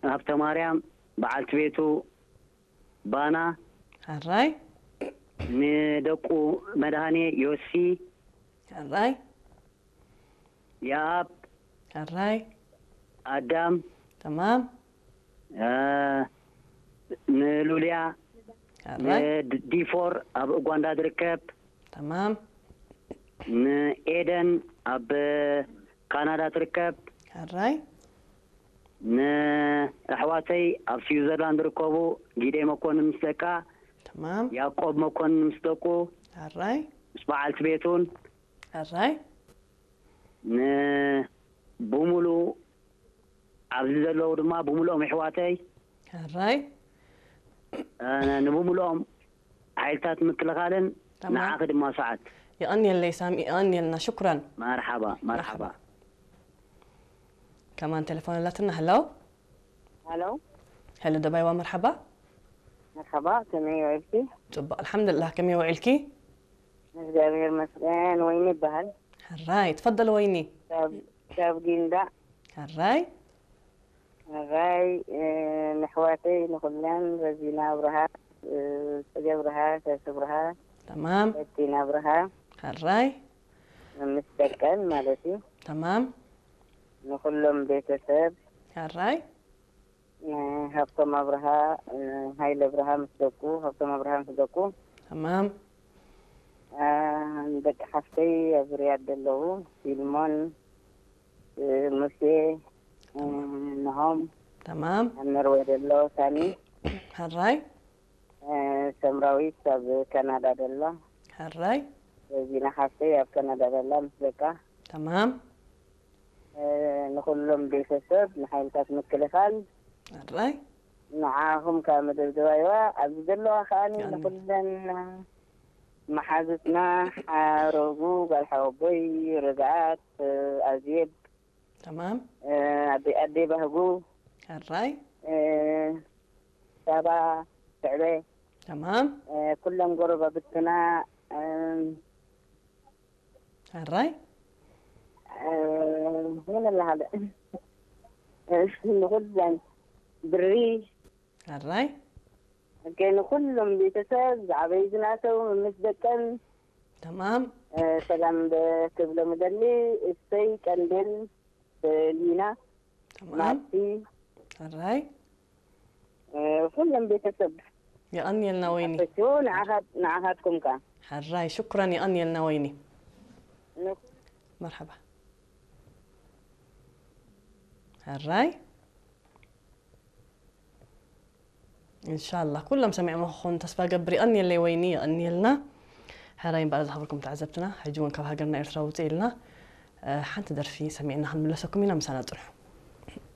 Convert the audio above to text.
ሃብተማርያም፣ በዓልቲ ቤቱ ባና፣ ሕራይ ንደቁ መድሃኔ፣ ዮሲ፣ ሕራይ የኣብ፣ ሕራይ ኣዳም፣ ተማም እ፣ ንሉልያ፣ ሕራይ ንዲፎር ኣብ ኡጋንዳ ትርከብ፣ ተማም ንኤደን ኣብ ካናዳ ትርከብ፣ ሕራይ ንኣሕዋተይ ኣብ ስዊዘርላንድ ዝርከቡ ጊደይ መኮንን ምስ ደቃ፣ ተማም ያዕቆብ መኮንን ምስ ደቁ፣ ሕራይ ምስ በዓልቲ ቤቱን ሕራይ ንብሙሉ ኣብዚ ዘለዉ ድማ ብምሉኦም ኣሕዋተይ ሕራይ እ፣ ንብምሉኦም ሓይልታት ምክልኻልን ተማም። ንዓኺ ድማ ሰዓት የቐንየለይ ሳሚ የቐንየልና ሽኩራን መርሓባ መርሓባ ከማን ቴሌፎን ኣላትና። ሄሎ ሄሎ ሄሎ ደባይዋ መርሓባ መርሓባ፣ ከመይ ውዒልኪ? ፅቡቅ ኣልሓምዱልላህ። ከመይ ውዒልኪ? እግዚኣብሔር ይመስገን። ወይኒ ይበሃል። ሕራይ ትፈደል ወይኒ። ካብ ካብ ጊንዳዕ ሕራይ ሕራይ፣ እ፣ ንኣሕዋተይ ንኹለን፣ ረዚና ኣብርሃ፣ እ፣ ጽገ ኣብርሃ፣ ሸሽ ኣብርሃ፣ ተማም በቲና ኣብርሃ ሕራይ ምስ ደቀን ማለት እዩ። ተማም ንኹሎም ቤተሰብ ሕራይ እ፣ ሃብቶም ኣብርሃ፣ እ፣ ሃይለ ኣብርሃ ምስ ደቁ፣ ሃብቶም ኣብርሃ ምስ ደቁ፣ ተማም እ፣ ደቂ ሓፍተይ ኣብ ሪያድ ዘለዉ ፊልሞን፣ እ፣ ሙሴ፣ እ፣ ነሆም ተማም ኣብ ኖርወይ ዘሎ ሳሚ፣ ሕራይ እ፣ ሰምራዊት ኣብ ካናዳ ደላ፣ ሕራይ ረዚና ሓፍተይ ኣብ ካናዳ ደላ ምስ ደቃ፣ ተማም እ፣ ንኹሎም ቤተሰብ ንሓይልታት ምክልኻል ሕራይ ንዓኹም ካብ መደብ ደባይዋ ኣብዚ ዘለዋ ከኣኒ ያኒ። ንኹለን መሓዙትና ሓረጉ ጓል ሓወቦይ ርግኣት ኣዜብ ተማም ኣደይ ኣደይ ባህጉ ሕራይ ሳባ ስዕበ ተማም ኩሎም ጎረባብትና ሕራይ ምን ኣለሃለ ንኹለን ብሪ ሕራይ ንኩሎም ቤተሰብ ዝዓበዩ ዝናተው ምስ ደቀን ተማም ሰላም ክብሎም እደሊ። እሰይ ቀንዴል ሊና ተማም ማቲ ሕራይ ኩሎም ቤተሰብ የቐንየልና ወይኒ ኣፈችዎ ንዓኻት- ንዓኻትኩም ከ ሕራይ ሽኩራን የቐንየልና ወይኒ መርሓባ ሕራይ እንሻላ ኩሎም ሰሚዕሞ ክኾኑ ተስፋ ገብር። የቐንየለይ ወይኒ የቐንየልና። ሕራይ እምበኣር ዝኸበርኩም ተዓዘብትና ሕጂ እውን ካብ ሃገርና ኤርትራ ውፅእ ኢልና ሓንቲ ደርፊ ሰሚዕና ክንምለሰኩም ኢና። ምሳና ፅንሑ።